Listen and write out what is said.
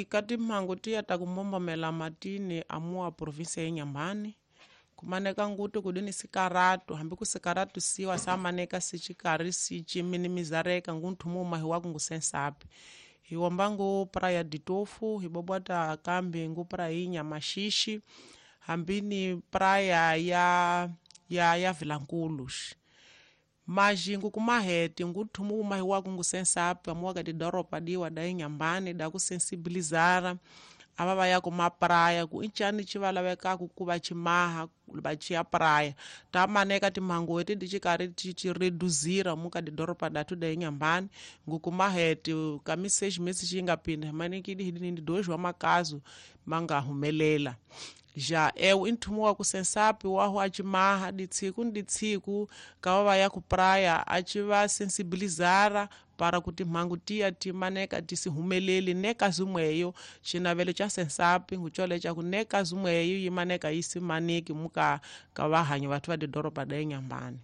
Ka timhangu tiya ta ku mbombomela matini amuwa provinsia ya Inhambane kumaneka nguti kudini sikaratu hambi ku sikaratu siwa samaneka sicikari sici minimizareka ngunthumu mahi waku ngusensapi hiwomba ngu praia de Tofo, hibobwata kambi ngu praia Maxixe, hambi ni praia ya Vilanculos. Majingu kumahete nguthumu mahi waku ngusensapi amuwa ka tidoropa diwa da Inhambane da kusensibilizara ava va ya kumapraya ku i ncani ci va lavekaku ku va cimaha va ciya praya ta maneka timhangu eti ti ci karhi ti reduzira mu ka tidoropa datu da Inhambane. Ngukumahete ka mi 6 meses ci nga pinda himanekidi hidinindi dois wa makazu ma nga humelela. Já eu i nthumu wa kusensapi wahu acimaha ditsiku ni ditsiku kava va ya ku praia a ci va sensibilizara para ku timhangu tiya ti maneka ti si humeleli ne kazi mweyo. Xinavelo xa sensapi ngucole xa ku ne kazi mweyo yi maneka yi si maneki mu ka vahanyi vathu va tidoropa da Inhambane.